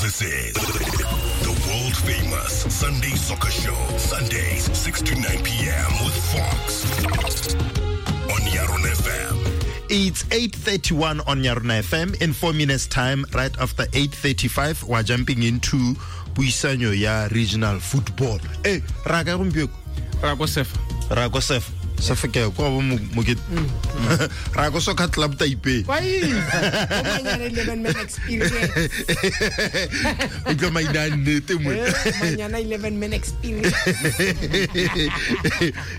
This is the world famous Sunday Soccer Show. Sundays, 6 to 9 p.m. with Fox on Yarona FM. It's 8:31 on Yarona FM. In 4 minutes time, right after 8:35, we're jumping into puisanyo ya regional football. Eh, ra ka gompieno? Ra ko Sefa. Ra ko Sefa. Sefa ke kwa bo Mokete. Ra ko Soccer Club Taipei. Why? Manyana 11 man experience. Utlwa maina a nnete mo. Manyana 11 man experience.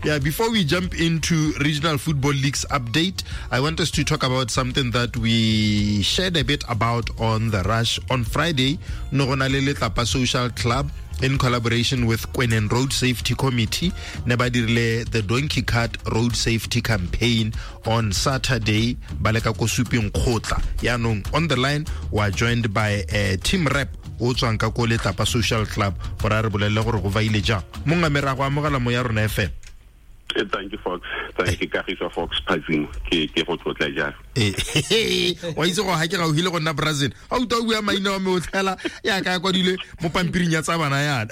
Yeah, before we jump into Regional Football League's update, I want us to talk about something that we shared a bit about on The Rush on Friday. No go na le Letlapa Social Club in collaboration with Kweneng Road Safety Committee ne ba dirile the Donkey Cart Road Safety Campaign on Saturday ba leka ko Suping Kgotla. Yaanong on the line we are joined by a team rep o tswang ka ko Letlapa Social Club gore a re bolelele gore go vaile jang. Mongwe me ra go amogela mo ya rona FM. Thank you, Fox. Thank you, Kagiso Fox Phazimo. Ke go tlotla jang. Wa itse go ha ke gauhile go nna Brazil. A utlwa o bua maina wa me o tlhela ya ka kwadile mo pampiring ya tsa bana yana.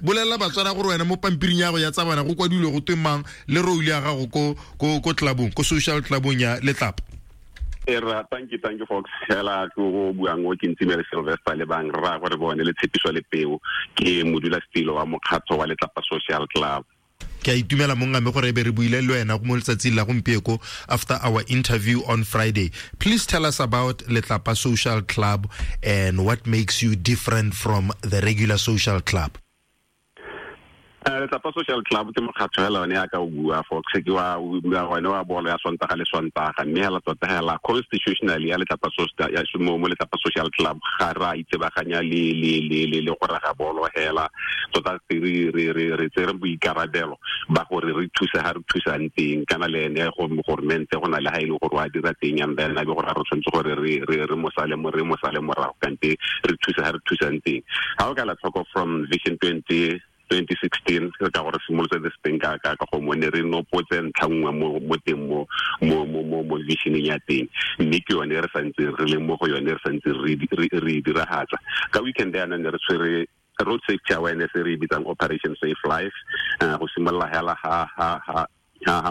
Bolela Batswana gore wena mo pampiring ya go ya tsa bana go kwadilwe go twe mang le role ya gago ko clubong, ko social clubong ya Letlapa. Era, thank you, Fox. Hela go buang o ke Ntsimele Sylvester le bang ra gore bone le tshepiso le peo ke modula stilo wa mokgatho wa Letlapa Social Club. Ke a itumela monga me gore e be re buile le wena mo letsatsing la gompieko after our interview on Friday. Please tell us about Letlapa Social Club and what makes you different from the regular social club. Letlapa Social Club ke mokgatho hela one ya ka o bua Fox ke wa one wa bolo ya Sontaga le Sontaga, mme hela tota hela constitutionally ya Letlapa Social ya mo Letlapa Social Club ga ra itsebaganya le le le le le go raga bolo hela tota re tsere boikarabelo ba gore re thuse ha re thusang teng kana le ene go government go na le ha ile gore wa dira teng and then a be gore re tshwanetse gore re mosale mo re mosale morago kante re thuse ha re thusang teng. Ha o ka la tlhoko from Vision 2016 re ka gore simolotse this thing ka go mo ne re nopotse ntlha nngwe mo teng mo visioning ya teng, mme ke yone re santse re le mo go yone re santse re diragatsa. Ka weekend yana ne re tshwere road safety awareness re bitsang Operation Safe Life, go simolola hela ha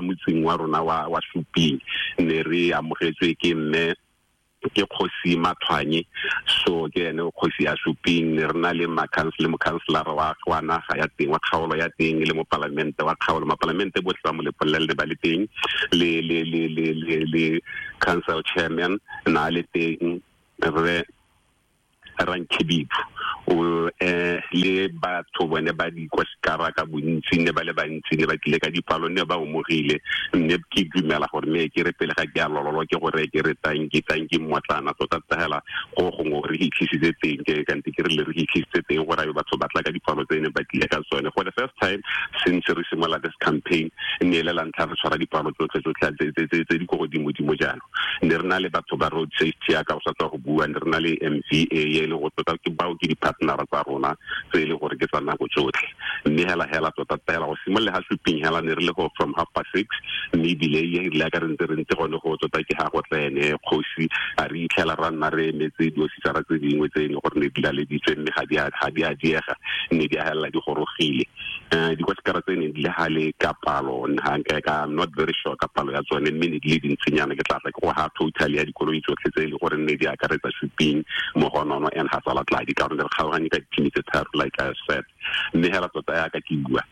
motseng wa rona wa Suping ne re amogetswe ke mme ke Kgosi Mathwanye, so ke ene kgosi ya Suping. Ne re na le mokhanselara wa naga ya teng wa kgaolo ya teng le mopalamente wa kgaolo, mapalamente botlhe ba mo Lepolele ba le teng le le le le le le council chairman na le teng re Rankhibipo o le batho bone ba dikwasikara ka bontsi ne ba le bantsi ne ba tlile ka dipalo ne ba omogile, mme ke dumela gore me ke re pele ga ke a lololo ke gore ke re tanki mmotlana tota hela go gongwe re hitlhisitse teng ke kante ke re le re hitlhisitse teng gore abe batho ba tla ka dipalo tse ne ba tlile ka tsone. For the first time since re simolola this campaign ne le la ntlha re tshwara dipalo tsotlhe tse di ko godimo-dimo jalo. Ne re na le batho ba road safety ya ka go sa tswa go bua, ne re na le MVA le go tota ke bao ke di-partnera tsa rona tse e le gore ke tsa nako tsotlhe, mme hela tota hela go simolola ha Suping hela ne re le go from 6:30, mme ebile e rile ka re ntse gone go tota ke ha go tla ene kgosi a re itlhela ra nna re emetse diofisara tse dingwe tse e leng gore ne di laleditswe mme ga di a diega mme di a helela di gorogile. Dikwasikara tse ne di le gale ka palo I'm not very sure ka palo ya tsone, mme ne di le dintsinyana ke tla tla ke go ha total ya dikoloi tsotlhe tse e le gore ne di akaretsa Suping Mogonono and Hatsalatladi ka gore re kgaoganye ka dithimi tse tharo like I said, mme hela tota yaka ke bua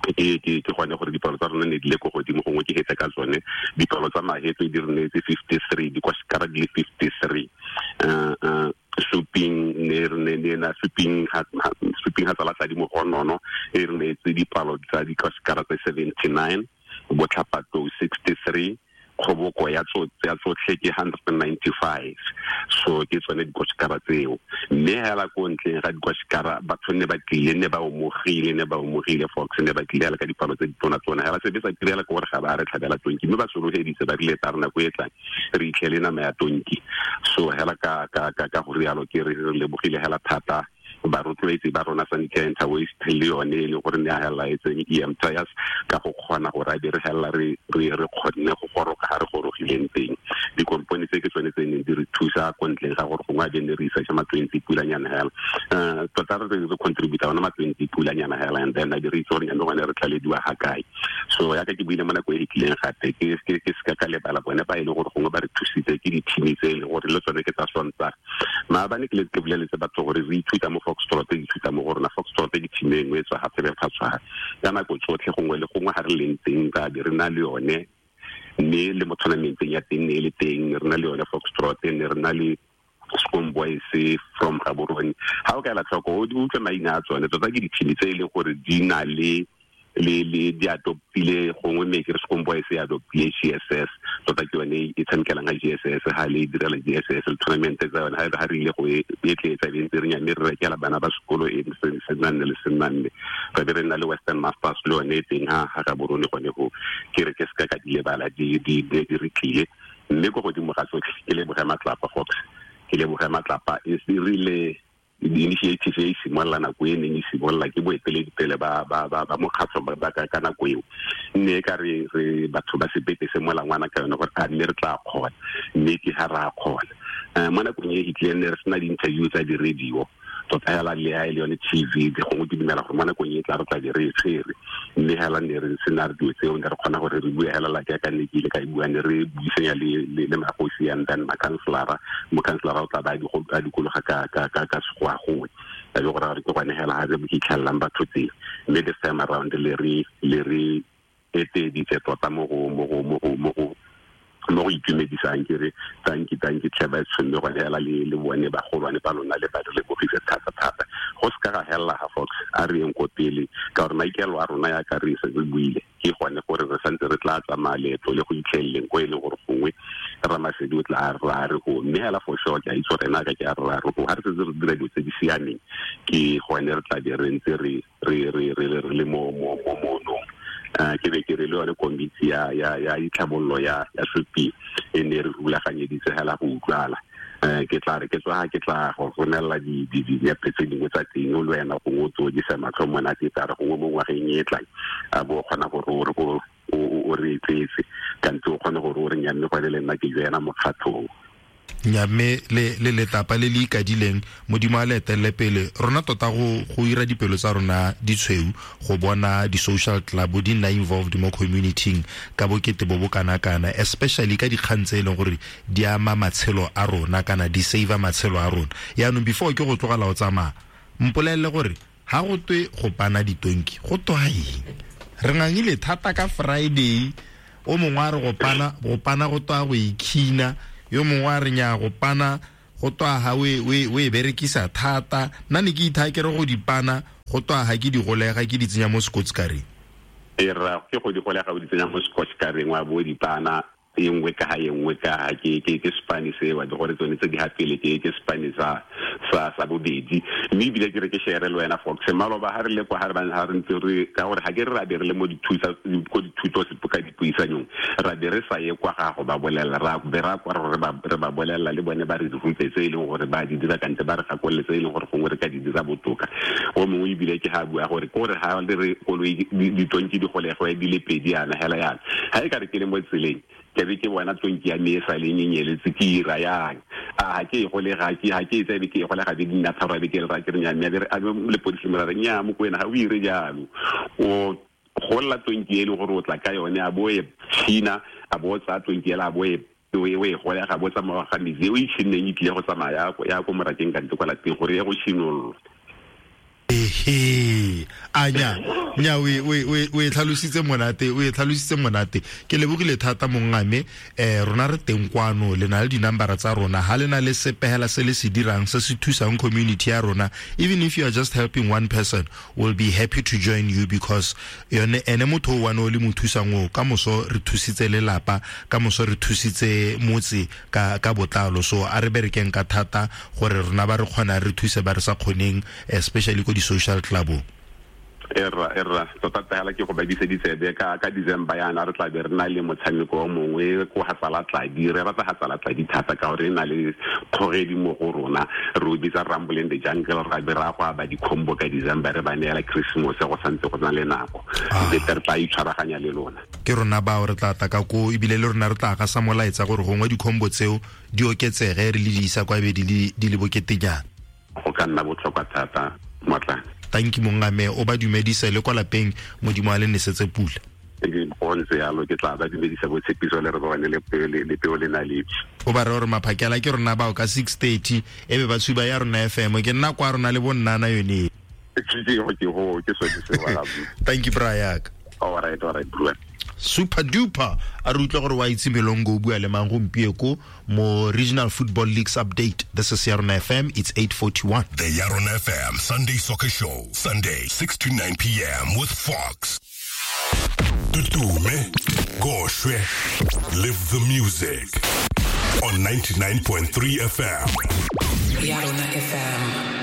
ke gone gore dipalo tsa rona ne di le ko godimo gongwe ke hetse ka tsone. Dipalo tsa mahetso di re neetse 53, dikwasikara di le 53. Suping ne re ne na Suping Hatsalatladi Mogonono e re neetse dipalo tsa dikwasikara tse 79, Botlhapatlou 63, kgoboko ya tsotlhe ke 195. So ke tsone dikwasikara tseo, mme hela ko ntleng ga dikwasikara batho ne ba tlile ne ba omogile Fox ne ba tlile hela ka dipalo tse ditona-tona hela sebe sa tirela ke gore ga ba re tlhabela tonki, mme ba sologeditse ba rile tsa re nako e tlang re itlhele nama ya tonki. So hela ka go rialo ke re lebogile hela thata Barotloetsi ba rona Sanitary and Waste le yone e leng gore ne a hela e tseng EM Tires ka go kgona gore a be re hela re kgonne go goroga ga re gorogileng teng. Dikompone tse ke tsone tse neng di re thusa ko ntleng ga gore gongwe a be ne re isa ma 20 pulanyana hela, tota re contributa ona ma 20 pulanyana hela, and then a be re itse gore nyame gone re tlalediwa ga kae. So yaka ke buile mo nako e tlileng gape ke seka ka lebala bone ba e leng gore gongwe ba re thusitse ke di-team tse e leng gore le tsone ke tsa Sontaga. Maabane ke le ke boleletse batho gore re ithuta mo Foxtrot, re ithuta mo go rona. Foxtrot ke team e nngwe e tswa gape re phatshwa ka nako tsotlhe, gongwe le gongwe ga re leng teng ka be re na le yone, mme le mo tournamenteng ya teng ne e le teng re na le yone Foxtrot, ne re na le Scum Boys from Gaborone. Ha o ka ela tlhoko o utlwe maina a tsone, tota ke di-team tse e leng gore di na le di adoptile gongwe, mme ke re Scum Boys e adoptile GSS, tota ke yone e tshamekelang ga GSS, ga le direla GSS le tournament tsa yone, ga re ile go e etletsa be ntse re nyame re rekela bana ba sekolo e se nne le se nne. Re be re nna le Western Masters le yone e teng ha Gaborone gone go ke re ke seka ka di lebala di re tlile. Mme ko godimo ga tsotlhe ke leboge Matlapa Fox, ke leboge Matlapa e rile di-initiative e simolola nako e neng e simolola ke boeteledipele ba mokgatlho ba ka nako eo, mme ka re batho ba sebete se molangwana ka yone gore a mme re tla kgona, mme ke ga re a kgona. Mo nakong e fitlileng ne re sena di-interview tsa di-radio tota hela le ha e le yone TV, gongwe ke dumela gore mo nakong e tla re tla be re e tshwere, mme hela ne re sena re dilo tseo ne re kgona gore re bue hela la jaaka ne ke ile ka e bua, ne re buisanya le magosi and then makhanselara, mokhanselara o tla ba a dikologa ka sekgowa gongwe a be gore re ke gone hela ga re fitlhelelang batho teng. Mme this time around le re eteditse tota mo go itumedisang, ke re tanki tlhe ba tshwanne gone hela le bone bagolwane ba lona le ba re lebogise thata-thata. Go seka ga helela ga Fox, a re yeng ko pele ka gore maikaelelo a rona yaka re se re buile ke gone gore re santse re tla tsamaya leeto le go itlheleleng ko e leng gore gongwe Ramasedi o tla ra re go, mme hela for sure ke a itse gore ena ka ke a ra re go, ga re setse re dira dilo tse di siameng ke gone re tla be re ntse re le mo monong. Ke be ke re le yone komiti ya ditlhabololo ya Sopi e ne re rulaganyeditse hela go utlwala. Ke tla re ke tswa ke tla go romelela dinepe tse dingwe tsa teng le wena gongwe o tsodisa matlho monate, tla re gongwe mo ngwageng e tlang a bo kgona gore o re tletse kante o kgone gore o re nyamme gone le nna ke joena mokgatlhong. Mme le letlapa le le ikadileng Modimo a le etelele pele rona tota go ira dipelo tsa rona ditshweu go bona di-social club di nna involved mo community-ing ka bokete bo bo kana-kana, especially ka dikgang tse e leng gore di ama matshelo a rona kana di save matshelo a rona. Yaanong before ke go tlogela o tsamaya, mpolelele gore ha go twe go pana ditonki go twa eng? Re ngangile thata ka Friday, o mongwe a re go pana go twa go ikhina, yo mongwe a re nya go pana go twa ha o e berekisa thata. Nna ne ke itha ke re go dipana go twa ha ke di golega ke di tsenya mo scotch-kareng. E ra ke go di golega o di tsenya mo scotch-kareng wa bo dipana e nngwe ka ha e nngwe ka ha ke Spanish e wa gore tsone tse di ha pele ke Spanish sa bobedi. Mme ebile ke re ke share le wena Fox maloba ha re le kwa ha re ba ha re ntse re ka gore ha ke re ra be re le mo dithusa ko dithuto ka dipuisanyong ra be re sa ye kwa ga go ba bolela ra be ra kwa re ba bolela le bone ba re rute tse e leng gore ba di dira kante ba re gakolole tse e leng gore gongwe re ka di dira botoka. O mongwe ebile ke ha bua gore kore ha le re koloi ditonki di golegwe di le pedi yana hela yana ha e ka re ke le mo tseleng ke be ke bona tonki ya me e sa le nyenyeletse ke ira yang a ha ke e golega ke ha ke e tsabe ke e golega be di nna tharo be ke re ra ke re nya mme a lepodisi mo ra re nya mo kwena ga o ire jalo o golla tonki e le gore o tla ka yone a bo e tshina a bo tsa tonki ela a bo e o e golega bo tsamaya ga metsi o e tshinneng e tlile go tsamaya ya ko morakeng kante kwa lapeng gore ye go tshinolola. Ehe, anya nya o e tlhalositse monate, o e tlhalositse monate. Ke lebogile thata mongame, rona re teng kwano le na le dinambara tsa rona, ha le na le sepehela se le se dirang se se thusang community ya rona, even if you are just helping one person, we'll be happy to join you because yone ene motho o one o le mo thusang o ka moso re thusitse lelapa, ka moso re thusitse motse ka botlalo. So a re berekeng ka thata gore rona ba re kgona re thuse ba re sa kgoneng, especially ko di social club. Erra tota hela ke go ba diseditsebe ka December yana re tla be re na le motshameko o mongwe ko Hatsala Tladi. Re rata Hatsala Tladi thata ka gore e na le kgogedi mo go rona, re o bitsa Rumble in the Jungle. Ra be ra go aba di-combo ka December, re ba neela Christmas go santse go na le nako. Bete re tla itshwaraganya le lona. Ke rona bao re tla taka ko, ebile le rona re tla ga sa molaetsa gore gongwe di-combo tseo di oketsege re le di isa kwa be di le boketenyana. Go ka nna botlhokwa thata Motlane. Thank you mongame, o ba dumedise le kwa lapeng, Modimo a le nesetse pula. Go ntse yalo, ke tla ba dumedisa botshepiso le re bone le peo le naledi. O ba re gore maphakela ke rona bao ka 6:30 e be ba tshuba ya rona FM, ke nna kwa rona le bonnana yone. Ke sone seo. Thank you Brayak. All right, bro. Super duper a re utlwa gore wa itse Melongo o bua le mang gompieko mo Regional Football Leagues update. This is Yarona FM, it's 8:41. The Yarona FM Sunday Soccer Show, Sunday 6 to 9 p.m. with Fox. Tutume, Goshwe, live the music on 99.3 FM. Yarona FM.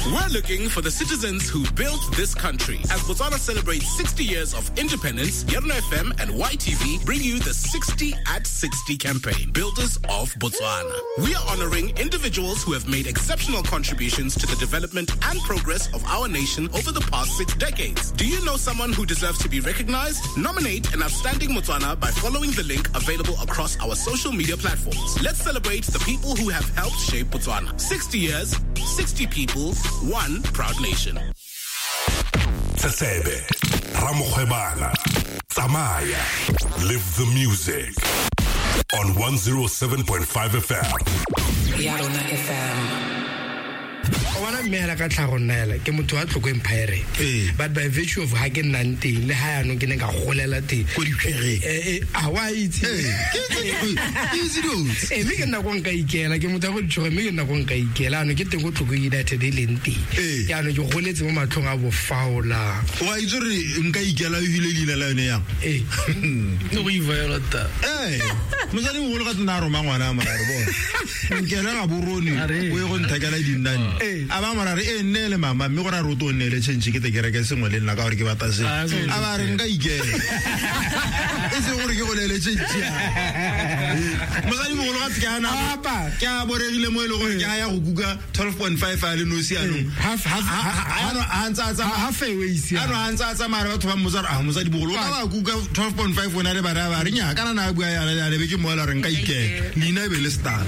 We're looking for the citizens who built this country. As Botswana celebrates 60 years of independence, Yarona FM and YTV bring you the 60 at 60 campaign, Builders of Botswana. We are honoring individuals who have made exceptional contributions to the development and progress of our nation over the past 6 decades. Do you know someone who deserves to be recognized? Nominate an outstanding Motswana by following the link available across our social media platforms. Let's celebrate the people who have helped shape Botswana. 60 years, 60 people, one proud nation. Tsebe, Ramokgwebana, Tsamaya, live the music on 107.5 FM. Yarona FM. O bona mme hela ka tlhago nna hela ke motho wa Tlokwe Pirate, but by virtue of ha ke nnang teng le ha yanong ke ne ka golela teng ko diphereng, a wa itse mme ke nna ko nka ikela, ke motho wa ko ditšhoge, mme ke nna ko nka ikela anong ke teng ko Tlokwe United e leng teng. Jaanong ke goletse mo matlhong a bofaola. Wa itse gore nka ikela o hile leina la yone yang? Ne go iviolata. Mosadi mogolo ka tsena a roma ngwana a morare bona nkele ga borone o ye go nthekela dinnane. A ba morare e nne le mama, mme gore a roto o nne le change ke te kereke sengwe le nna ka gore ke batla se. A ba re nka ikela e seng gore ke go neele change. Mosadi mogolo ga ke ana ke a boregile mo e leng gore ke a ya go kuka 12.5 a le nosi anong. A ntse a tsamaya a tsamaya batho ba mmotsa a mosadi mogolo o ka ba kuka 12.5 o na le bana ba re nya kana na bua yana le be ke moela re nka ikela leina e be le stuck.